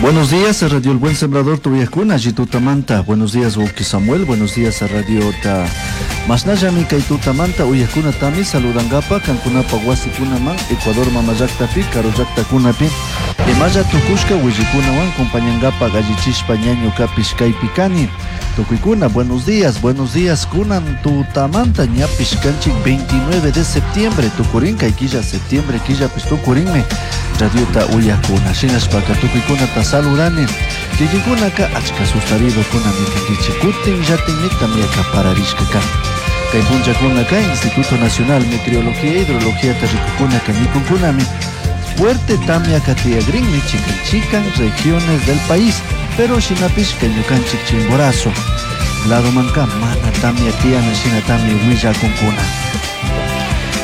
Buenos días a Radio El Buen Sembrador Tuyakuna, Manta. Buenos días, Woki Samuel. Buenos días a Radio Ta. Masnallami kay tutamanta uyakunatami saludangapa kankunapa wasikunaman Ecuador mamallaktapi karullaktakunapi imalla tukushka willikunawan compañangapa gallichishpa ñañukapish kaypi kani. Tukuykuna, buenos días, kunan tutamanta ñapish kanchik 29 de septiembre, tukurin kay killa septiembre killapish tukurinmi radiota uyakuna. Shinashpaka tukuykunata saludani. Kikinkunaka achka sustaridokuna kankichik kutin llatinmi tamyaka pararishka kan. Kay punllakunaka Instituto Nacional Meteorología e Hidrología rikukunaka nikunkunami fuerte tamyaka tiyagrinmi chikan chikan regiones del país, pero shinapish kay ñukanchik Chimborazo ladomanka mana tamya tiyana shinatami willakunkuna.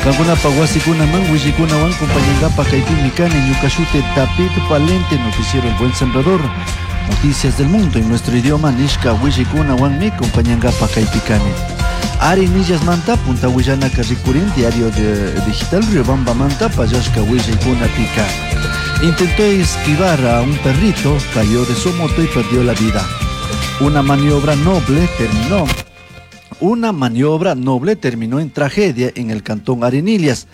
Kankunapa wasikunaman willikunawan compañangapa kaypimi kani ñuka shuti David Valente, noticiero El Buen Sembrador, noticias del mundo en nuestro idioma nishka willikunawanmi compañangapa kaypi kani. Arenillas manta punta willanaka rikurin diario de digital Riobamba manta pallashka willaykunapika. Intentó esquivar a un perrito, cayó de su moto y perdió la vida. Una maniobra noble terminó. Una maniobra noble terminó en tragedia en el cantón Arenillas.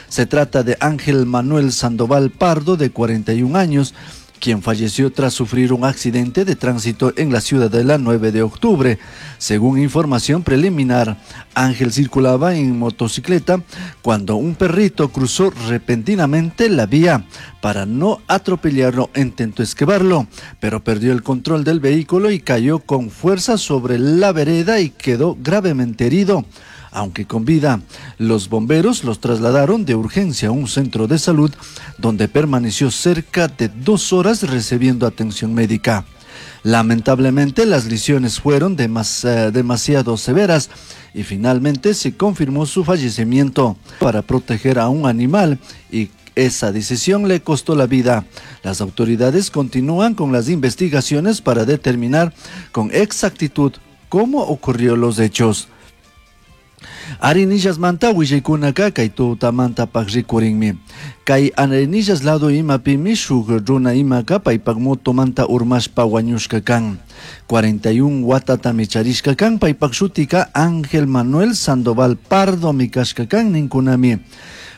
Se trata de Ángel Manuel Sandoval Pardo, de 41 años, quien falleció tras sufrir un accidente de tránsito en la ciudadela 9 de octubre. Según información preliminar, Ángel circulaba en motocicleta cuando un perrito cruzó repentinamente la vía. Para no atropellarlo, intentó esquivarlo, pero perdió el control del vehículo y cayó con fuerza sobre la vereda y quedó gravemente herido. Aunque con vida, los bomberos los trasladaron de urgencia a un centro de salud donde permaneció cerca de 2 horas recibiendo atención médica. Lamentablemente, las lesiones fueron demasiado severas y finalmente se confirmó su fallecimiento. Para proteger a un animal y esa decisión le costó la vida. Las autoridades continúan con las investigaciones para determinar con exactitud cómo ocurrió los hechos. Arenillas manta willaykunaka kay tutamanta rikurinmi. Kay Arenillas lado imapimi shuk runa imaka paypak motomanta urmashpa wañushka kan. 41 watatami charishka kan paypak shutika Ángel Manuel Sandoval Pardo mikashka kan ninkunami.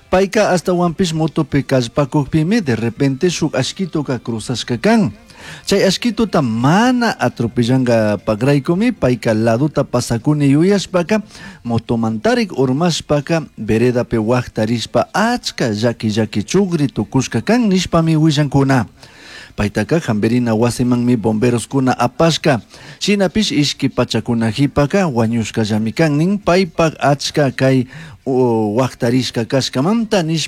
Payka hasta motopi kallpakukpimi de repente shuk ashkituka cruzashka kan. Chay ashkituta mana atropellanga pagraykumi payka laduta pasakuni yuyashpaka motomantarik urmashpaka veredapi waqtarishpa achka llaki llaki chugri tukushka kan nishpami willankuna. Paytaka hamperina wasimanmi bomberoskuna apashka. Shinapish ishki pachakuna hipaka wañushkallami kan nin paypak achka kay waqtarishka kashkamanta nishpa.